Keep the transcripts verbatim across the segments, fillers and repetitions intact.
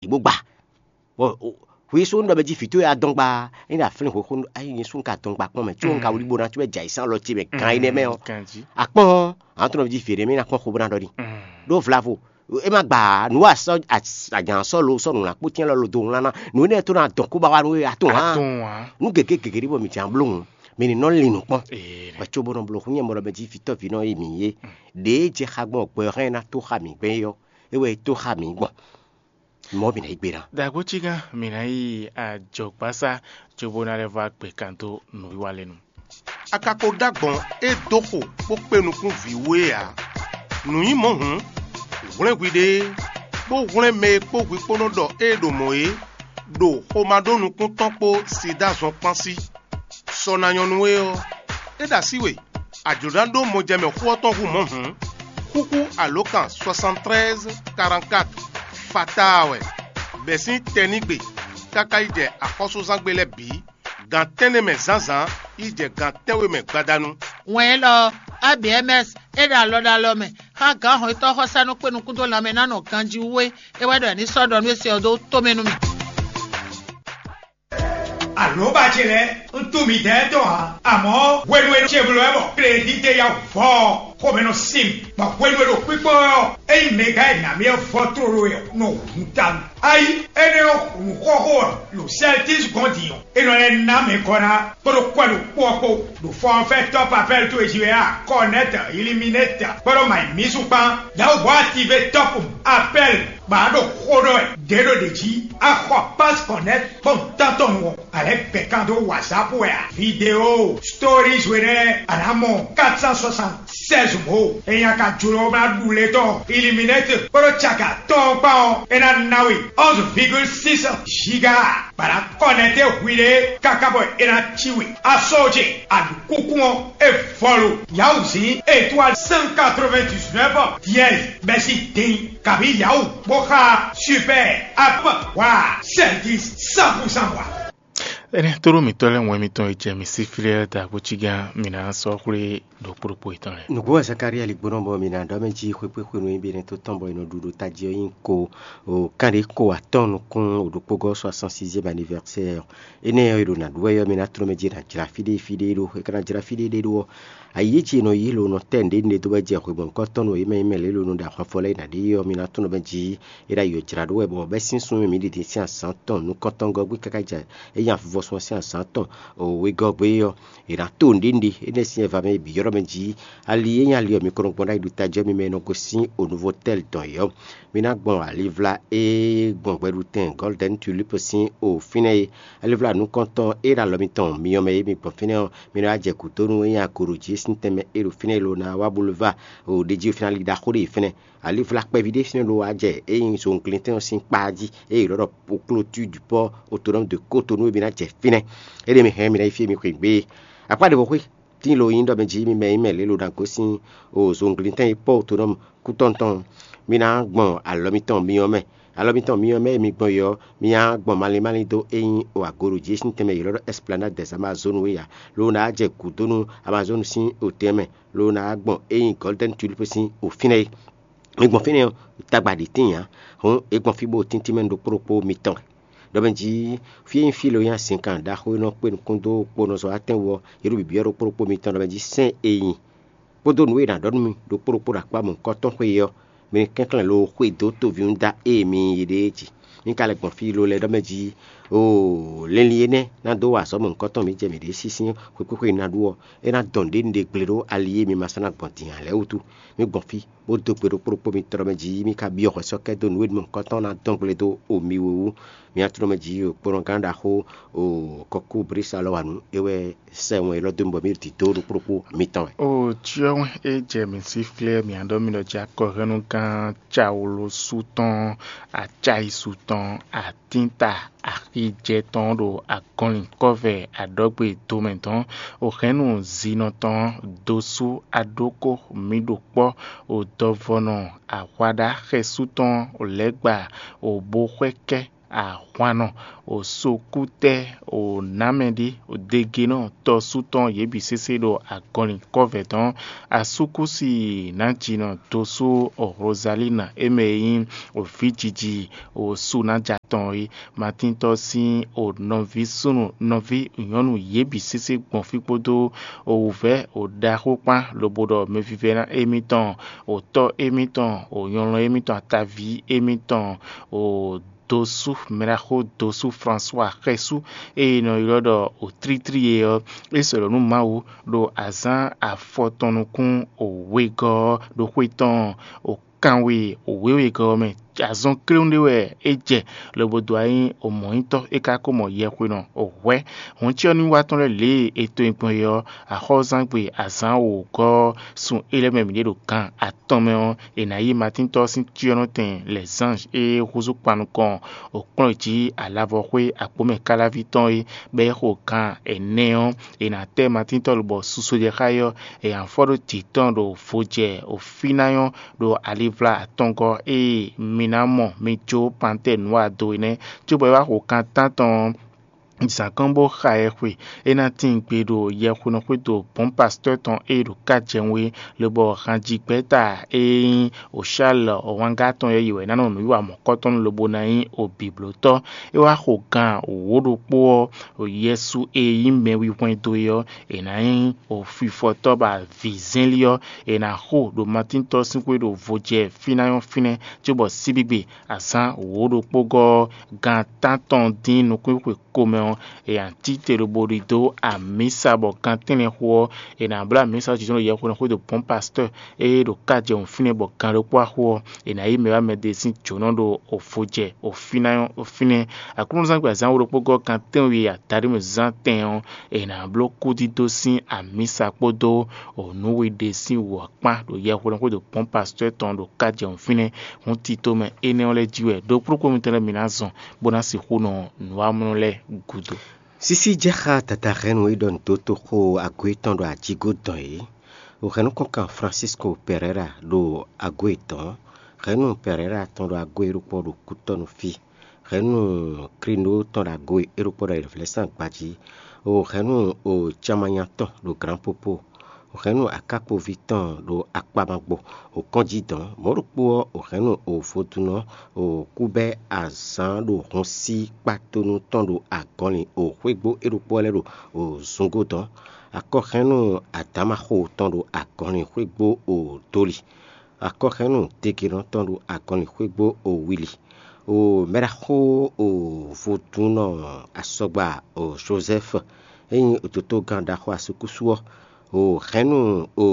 yě bó gba. Bɔ hwi sú ɖɔ mɛ jí vǐ towe adɔngba, é ɖo aflín hwexó, ayi nyɛ sú un ka dɔngba kpɔ́n mɛ, có un ka wlí bó ná có wɛ jɛ ayǐsán lɔ ce mɛ gan énɛ́ mɛ ɔ́. Akpɔ́n, àwọn tó nɔ jí vǐ énɛ́ mɛ ná kpɔ́n xó bó ná ɖɔ ní. Ɖó vlavo, é má gba nǔ wa sɔ́, agǎn sɔ́ lo sɔ́ nǔ ná kpó tɛ́n lɔ lo do wlán ná. Nǔ énɛ́ tó ná dɔn kú ba wá nú we atún hǎn. Nǔ gěgé gěgé ɖé bɔ mǐ jǎn bló hǔn, mǐ ní nɔ lin nǔ kpɔ́n. Bɔ có bó nɔ bló hún nyɛ mɔ ɖɔ mɛ jí vǐ tɔ́ vǐ nɔ e mǐ é. Ɖěe jɛ xá gbɔn gbɛ ɔ́ hɛn ná tó xá mǐ gbɛn é ɔ́, é wɛ é tó xá mǐ gbɔn. Mɔ̌ mǐ ná yí gbe ná. Dǎgbócígán, mǐ ná yi ajɔ̌gbásá cóbó ná lɛ́ vɔ́ agbe kan dó nǔwiwa lɛ́ɛ nu. A ka ko ɖó agbɔ̌n e dó xo bó kpé nukún vǐ we ǎ. Nǔ nyí mɔ̌ hǔn, hwlɛ́n hwiɖée, bó hwlɛ́n mɛ e kpó hwi kpó nɔ ɖɔ ée ɖo mɔ̌ é, ɖo xomá ɖó nukún tɔn kpó sida zɔn kpán sí. Sɔ ná nyɔ́ nú we ɔ́, é ɖo así we, a jlǒ ná ɖó mɔjɛmɛ xó ɔ́ tɔn hú mɔ̌ hǔn, xúxú alǒkan soixante-treize quarante-quatre fataa wɛ, bɛ̌ sín tɛnígbe káká yi jɛ axɔ́súzángbe lɛ́ɛ bǐ, gan tɛ́nnɛ mɛ zǎnzǎn yi jɛ gan tɛ́nwe mɛ gbadanu. Wɛn élɔ́ ɔ́, A B M S é ɖo alɔ ɖo alɔ mɛ xá gǎn hɔnnyitɔ́ xɔsánú kpé nukún dó lanmɛ ná nɔ ganjí wú é. É wɛ ɖɔ è ní sɔ́ ɖɔ nú é se ɔ́ dó tomɛ nú mì. Alǒba ce lɛ́ɛ, un tunwun midɛɛ tɔn ǎ, amɔ̌ hwenu e ce bló wɛ bɔ klédídé ya vɔ ɔ́, xomɛ nɔ sin mì, bɔ hwenu e ɖo kpíkpɔ́n wɛ ɔ́, ényí mɛ gǎn e nǎ mì ɔ́ vɔ tlóló wɛ ɔ́, nɔ hun tawun. Ayi, énɛ́ ɔ́, hun xɔxo ɔ́, ɖo Sɛltísi gɔ́n din ɔ́, é nɔ lɛ́ ná mɛ gɔ́ ná kpódó kwɛ́ ɖokpó ɔ́ kpó, ɖo fɔ́nfɛ́ tɔ́ papɛ́l towe jí wɛ a, Kɔnɛ́tɔ, Iliminɛ́tɔ, kpódó Mayimísu kpán, Yawuhɔ́ atívé tɔ́pun, Apɛ́l, bɔ a ɖo xó ɖɔ wɛ ɖě ɖo ɖě jí, a xɔ Pásí Kɔnɛ́tɔ kpɔ́n tántɔn nu ɔ́, a lɛ́ gbɛ kan dó WhatsApp wɛ a? Vidéo, stories we nɛ́ a nǎ mɔ quatre cent soixante-seize mɔ̌. Ényí a ka jló ná ɖu lě tɔn Iliminɛ́tɔ kpódó caka tɔn ɔ́ kpán ɔ́, é ná ná we onze virgule six giga, bɔ a nǎ kɔnɛtɛ hwiɖée káká bɔ é ná cí we. A sɔ́ ce, a ɖu kúnkún ɔ́, é vɔ lo. Yawuzǐn étoile cent quatre-vingt-dix-neuf dièse bɛ́sín din, kabǐ Yawu bó xá Super App wa service cent pour cent wa. Énɛ́ tlóló mǐtɔn lɛ́ɛ wɛn mitɔn e jɛ mǐ sí flɛ́ dǎgbócígán mǐ ná sɔ́ xwlé ɖokpó ɖokpó yětɔn lɛ́ɛ. Nǔgbó wɛ Zakalía ligbónɔ bɔ mǐ ná ɖɔ mɛ jí xwé kpé xwenu e bǐ nɛ́ tó tɔn bɔ è nɔ ɖu ɖo tají ɔ́ nyí ko, o kánɖé ko atɔ́ɔ́n nukún o ɖokpógɔ́ soixante-sixième anniversaire. Énɛ́ ɔ́, è ɖo nǎ ɖu wɛ ɔ́, mǐ ná tló mɛ jí è nǎ jlá fí ɖé fí ɖé ɖó, è ka ná jlá fí ɖé ɖé ɖó ɔ́, ayǐ e jí è nɔ yí lo nɔ tɛ́ nǔɖé nǔɖé dó wɛ jɛ xwe mɔ̌hunkɔtɔn nú yě mɛ e mɛ lě lo nɔ ɖo ahwanfɔ lɛ́ɛ yi nǎ ɖe é ɔ́, mǐ ná tló mɛ jí è ɖo ayǐ ɔ́ jlá ɖó wɛ, bɔ bɛ́ sín súnnu e mǐ ɖi din sín azǎn tɔn nukɔntɔn gɔ́ gbé káká jɛ é nyi avivɔsun ɔ́ sín azǎn tɔn wegɔ́ gbé ɔ́, è nǎ to nǔɖé nǔɖé énɛ́ sín ɛva mɛ bǐ ylɔ́ mɛ jí. Ali e nyí ali ɔ́, mi ko nɔ gbɔn ɖó ayi ɖo tají ɔ́ mi mɛ e nɔ gosín o Nuvotɛ́li tɔn é ɔ́, mi ná gbɔn alivla e gbɔn gbɛɖutɛn Gɔ́lidɛ́ni Tulípu sín o fínɛ́ é. Alivla nukɔntɔn e ɖo alɔ mitɔn myɔ mɛ é mi gbɔn fínɛ́ ɔ́, mi nɔ wá jɛ gǔdo nú é nyí agoɖo jí sín tɛnmɛ e ɖo fínɛ́ é lo ná wá boulevard o ɖejí o fínɛ́ ali ɖaxó ɖé fínɛ́. Alivla kpɛví ɖé fínɛ́ lo wá jɛ é nyí zɔnglintɛn ɔ́ sín kpá jí, ée è ɖɔ ɖɔ clôture du port autonome de Cotonou e mi ná jɛ fínɛ́. Éɖée mi hɛn mi ná yi fí e mi xweyǐgbe é. Akpá ɖěvo xwé tíin lo nyí ɖɔ mɛ jí mi mɛ nyí mɛ lě lo ná gosín o zɔnglintɛn e pɔ́ autonome kútɔ́ tɔn, mi ná gbɔn alɔ mitɔn myɔ mɛ. Alɔ mitɔn myɔ mɛ e mi gbɔn yi ɔ́, mi ná gbɔn malín malín dó é nyí o agoɖo jí sín tɛnmɛ ylɔ́ ɖɔ Esplanade des Amazones é ǎ, lo ná jɛ gǔdo nú Amazone sín otɛn mɛ, lo ná gbɔn é nyí Golden Tulip sín o fínɛ́ é. Mi gbɔn fínɛ́ ɔ́, tagba ɖě tíin ǎ, hǔn é gbɔn fí bó tíntín mɛ ɖokpó ɖokpó mitɔn wɛ. Ɖɔ mɛ jí fí e nyí fí lo nyí azinkan ɖaxó e nɔ kpé nukún dó kponɔzɔ́watɛn wú ɔ́, yě ɖo bǐbyɔ́ ɖokpó ɖokpó mitɔn ɖɔ mɛ jí sɛ́n e nyi kpódó nǔ e è nǎ ɖɔ nú mi ɖokpó ɖokpó ɖo akpá mɔ̌hunkɔtɔn xwé é ɔ́, mi ní kɛnklɛ́n lo xwedó toví nú da ée mi yí ɖe é jí. Mi ka lɛ́ gbɔn fí lo lɛ́ɛ ɖɔ mɛ jí, oo, linlin énɛ́ ná dó wa azɔ̌ mɔ̌hunkɔtɔn mǐ jɛ mǐ ɖě sísí xwekpéxwe ná ɖu ɔ́, é ná dɔn ɖě un ɖe gble ɖó ali e mi ma sɔ́ ná gbɔn din ǎ lɛ́ɛ wútu. Mi gbɔn fí, bó dó gbe ɖokpó ɖokpó mitɔn ɖɔ mɛ jí, mi ka byɔ́ hwɛsɔ́kɛ́ dó nǔ e mɔ̌hunkɔtɔn ná dɔn gble dó o mi wú. Mi ná tló mɛ jí, o kplɔ́ngán ɖaxó, o kɔkú Blísa lɔ wa nǔ é wɛ sɛ wɛn élɔ́ dó mi bɔ mǐ ɖo dǐdó ɖokpó ɖokpó mitɔn wɛ. O cyɔ́ wɛn é jɛ mǐ sí flɛ́ mǐ ɖɔ mǐ ɖɔ jí akɔhɛnnugán Cawlosu tɔn, Acáyisu tɔn, Atínta, Axijɛ tɔn ɖo agɔnlin kɔ́vɛ aɖɔgbe domɛ dɔn, o hɛnnu zinɔ tɔn dosú aɖókó mǐ ɖo kpɔ́, o dɔvɔnɔ ahwaɖá xɛsú tɔn, o lɛ̌gba, o bo xwɛ kɛ́ Ahwannɔ, o sokútɛ́, o nǎmɛɖí, o degenɔ, tɔ́sú tɔn yě bǐ sésé ɖo agɔnlin kɔ́vɛ̌ tɔn. Asúkúsi nǎjinɔ dosú o Rozalína e mɛ e nyí o vǐjiji o Sunája tɔn é. Matíntɔ́ sín o nɔví súnnu nɔví nyɔ̌nu yě bǐ sésé gbɔn fí kpódó o wǔvɛ́ o ɖaxó kpán lobo ɖɔ mɛvívɛ́ná émítɔn, o tɔ́ émítɔn, o nyɔlɔn émítɔn, ataví émítɔn, o dosú mɛɖaxó dosú Fransua xɛsú e è nɔ ylɔ́ ɖɔ o tlítlí é ɔ́, é sɔ́ ɖɔ nú Mawu ɖo azǎn afɔtɔn nukún o wegɔ́ ɔ́ ɖo xwé tɔn o kanwe o wěwegɔ́ ɔ́ mɛ. Azɔn kléwún ɖé wɛ é jɛ lobo dó wá nyí o mɔ̌nyitɔ́ é ka ko mɔ yɛhwenɔ o hwɛ̌. Hɔn cyɔ ní wá tɔn lɛ́ɛ lě e è to nyi gbɔn é ɔ́, axɔ́zangbe azǎn wǒgɔ́ ɔ́, sun é lɛ́ɛ mɛ mǐ ɖe ɖo gan atɔn mɛ ɔ́, è nǎ yí Matíntɔ́ sín cyɔ́nɔtɛn lɛ̌zánj e húzú kpan nukɔn o kplɔ́n jí alavɔxwé akpomɛ káláví tɔn é, bɔ é xo gan ɛnɛ ɔ́, è nǎ tɛ́ Matíntɔ́ lobɔ suso jɛ xá é ɔ́, è nǎ fɔ ɖó jǐ tɔn ɖo vo jɛ o fínáyɔ́ ɖo alivla atɔngɔ́ e mi ná mɔ mi jó pantɛ́ɛ nǔ wa do é nɛ́, cóbɔ é wá xo kan tántɔn ɔ́, zǎn kɔn bó xa ɛ xwe. É ná tíin gbe ɖo yɛhwenɔ xwédo bɔ̌n pastɔ́ tɔn e ɖo ká jɛ wé, lobɔ hanjigbɛ́ta e nyí Oshálɔ wángá tɔn yɛ́ yi wɛ ná nɔ nǔwiwa mɔ̌kɔtɔn lobo ná nyí obǐblótɔ́. É wá xo gan wǒ ɖokpó ɔ́, Yɛsu e nyí mɛwihwɛndo é ɔ́, è nǎ nyí ofifɔtɔ́ ba vǐzɛ́nlí ɔ́, è nǎ xo ɖo Matíntɔ́ sín xwé ɖo vo jɛ fínɛ́ ɔ́ fínɛ́, cóbɔ síbígbe azǎn wǒ ɖokpó gɔ́ ɔ́, gan tántɔn dín nukúnxwe komɛ ɔ́, è nǎ cí te lobo ɖidó amǐsa bɔ gan tɛ́nlɛ́n xo ɔ́, è nǎ bló amǐsa ɔ́ jǐnjɔ́n ɖo yɛhweɖɛnxwé ɖo bɔ̌n pastɔ́ɔ e ɖo ká jɛ wǔn fínɛ́ bɔ gan ɖokpó axo ɔ́, è nǎ yí mɛ wá mɛ ɖe sín jǒnɔ ɖo ofojɛ ofínɛ́. Aklúnɔzán gbe azǎn wǒ ɖokpó gɔ́ gan tɛ́nwe adaɖé mɛ zán tɛn ɔ́, è nǎ bló kúdídó sín amǐsa kpódó nǔ we ɖe sín wǔ ɔ́ kpán ɖo yɛhweɖɛnxwé ɖo bɔ̌n pastɔ́ɔ tɔn ɖo ká jɛ wǔn fínɛ́. Hǔn tito mɛ énɛ́ ɔ́ lɛ́ɛ jí wɛ ɖokplɔ́kplɔ́ mitɔn lɛ́ɛ mi ná zɔn bó ná sixú nɔ nǔwamlɔ lɛ́ɛ gúdo. Sísí jɛ xá dadá hɛnnu e ɖɔ nǔdótoxo ago yětɔn ɖo ajigó dɔn é. Hɛ̌nnukɔnkan Francisco Pereira ɖo ago yětɔn, hɛ̌nnu Pereira tɔn ɖo ago e ɖokpó ɖo kútɔ́ nú fí, hɛ̌nnu Krindo tɔn ɖo ago e ɖokpó ɖo ayǐvlɛ́sán gbají, hɛ̌nnu Camanya tɔn ɖo Glǎnpopo, hɛ̌nnu Akákpoví tɔn ɖo Akpamagbo, kɔ́njí dɔn, mɔ̌ ɖokpó ɔ́, hɛ̌nnu vodúnɔ kúbɛ́ azǎn ɖo hun sí kpátónú tɔn ɖo agɔnlin xwégbó é ɖokpó ɔ́ lɛ́ɛ ɖo zungo dɔn. Akɔhɛ́nnu Adǎmaxo tɔn ɖo agɔnlin xwégbó doli. Akɔhɛ́nnu Degenɔ tɔn ɖo agɔnlin xwégbó wili. O mɛɖaxó o vodúnnɔ asɔgba o Jozɛ́fu, é nyí dotogán ɖaxó asúkúsú ɔ́, o hɛ̌nnu o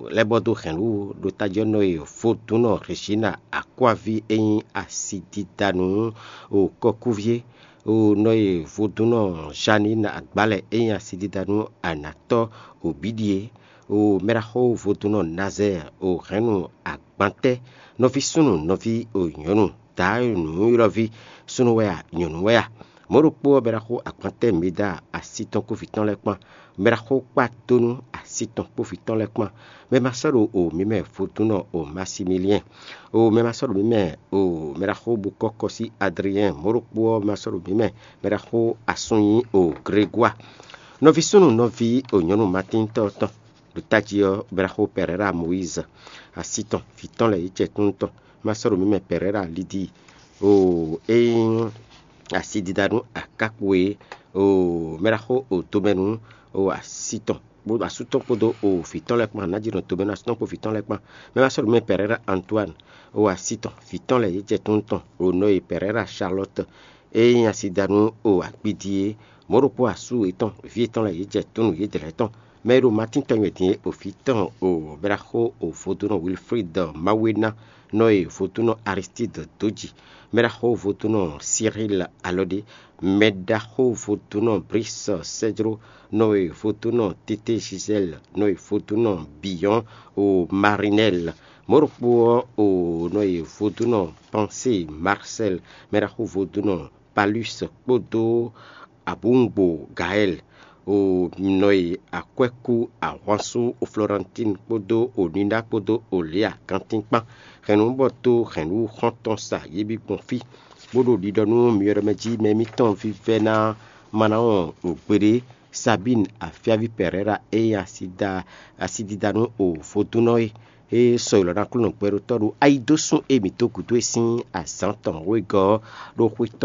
lɛ́ bɔ dó hɛ̌nnu ɖo tají ɔ́ nɔ e vodúnnɔ Rejina Akwáví e nyí asididanu o kɔkúví é, o nɔ e vodúnnɔ Janine Agbálɛ e nyí asididanu anatɔ́ o bǐɖi é, o mɛɖaxó vodúnnɔ Nazɛɛ o hɛ̌nnu agbantɛ́, nɔví súnnu nɔví o nyɔ̌nu, daá nǔylɔ́ví súnnu wɛ a, nyɔ̌nu wɛ a? Mɔ̌ ɖokpó ɔ́, mɛɖaxó agbantɛ́ Meda asi tɔn kpó vǐ tɔn lɛ́ɛ kpán, mɛɖaxó kpátónú asi tɔn kpó vǐ tɔn lɛ́ɛ kpán, mɛ ma sɔ́ ɖo o mǐ mɛ vodúnnɔ o Masimiliɛn, o mɛ ma sɔ́ ɖo mǐ mɛ o mɛɖaxó bukɔ́kɔsí Adriɛn, mɔ̌ ɖokpó ɔ́, mɛ ma sɔ́ ɖo mǐ mɛ mɛɖaxó asúnnyí o Gregwa. Nɔví súnnu nɔví o nyɔ̌nu Matíntɔ́ tɔn ɖo tají ɔ́, mɛɖaxó Pɛrɛra Moyízi, asi tɔn vǐ tɔn lɛ́ɛ yě jɛ kúnnu tɔn, ma sɔ́ ɖo mǐ mɛ Pɛrɛra Lidii, o é nyí asididanu akákpo e, o mɛɖaxó o domɛnu o asi tɔn kpó asú tɔn kpódó o vǐ tɔn lɛ́ɛ kpán, nǎjínɔ domɛnu asú tɔn kpó vǐ tɔn lɛ́ɛ kpán, mɛ ma sɔ́ ɖo mǐ mɛ Pɛrɛra Antoine o asi tɔn vǐ tɔn lɛ́ɛ yě jɛ kúnnu tɔn, o nɔ e Pɛrɛra Charlotte e nyí asidanu o akpidi é, mɔ̌ ɖokpó asú yětɔn vǐ yětɔn lɛ́ɛ yě jɛ kúnnu yědɛɛ lɛ́ɛ tɔn. Mɛ e ɖo Matín tɔn nywɛ din é, o vǐ tɔn o mɛɖaxó o vodúnnɔ Wilfrid Mawéná, nɔ e vodúnnɔ Aristide dó ji, mɛɖaxó vodúnnɔ Cyril Alɔdé, mɛɖaxó vodúnnɔ Brice Cédro, nɔ e vodúnnɔ Tété Gisèle, nɔ e vodúnnɔ Biyɔn o Marinel, mɔ̌ ɖokpó ɔ́ o nɔ e vodúnnɔ Pensée Marcel, mɛɖaxó vodúnnɔ Palus kpódó Abungbo Gaël, o nɔ e akwɛ́kú ahwansú o Florentine kpódó o Nina kpódó o Léa kantín kpán. Hɛ̌nnu bɔ dó hɛ̌nnu xɔ́ntɔn sa yě bǐ gbɔn fí. Bó ɖo ɖiɖɔ nú myɔɖɔmɛ jí mɛ émítɔn vívɛ́ná Manaɔn ɖo gbeɖé, Sabín afyáví Pɛrɛ́ra e nyí asidida nú o vodúnnɔ é, é sɔ́ ylɔ̌ ná Aklúnɔ gbɛɖótɔ́ ɖo ayidosún e mǐ dó gǔdo e sín azǎn tɔn wegɔ́ ɔ́ ɖó xwé tɔn